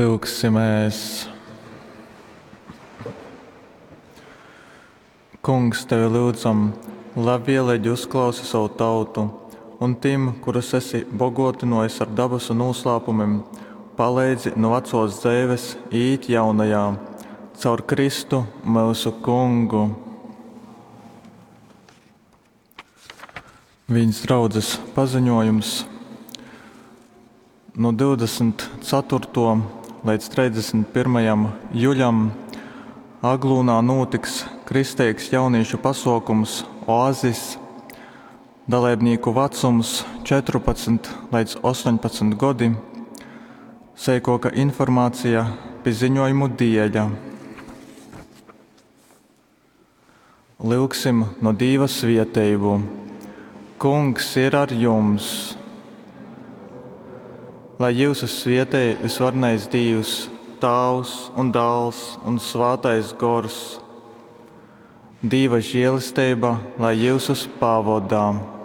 Lyugsimēs! Kungs, tevi lyudzam, labvieleigi uzklausi sovu tautu un tim, kurus esi boguotynuojis ar dabasu nūslāpumim, paleidzi nu vacuos dzeives īīt jaunajā. Caur Kristu, myusu Kungu. Vīns draudzes paziņojums. Nu 24. leidz 31. juļam Aglūnā nūtiks kristeigs jaunīšu pasuokums Oazis. Daleibnīku vacums 14 leidz 18 godi. Seikuoka informācija pi ziņojumu dieļa. Lyugsim no Dīva svieteibu. Kungs ir ar jums! Lai jyusus svietej visvarenais Dīvs, Tāvs un Dāls un Svātais Gors. Dīva žēlesteiba lai jyusus pavoda.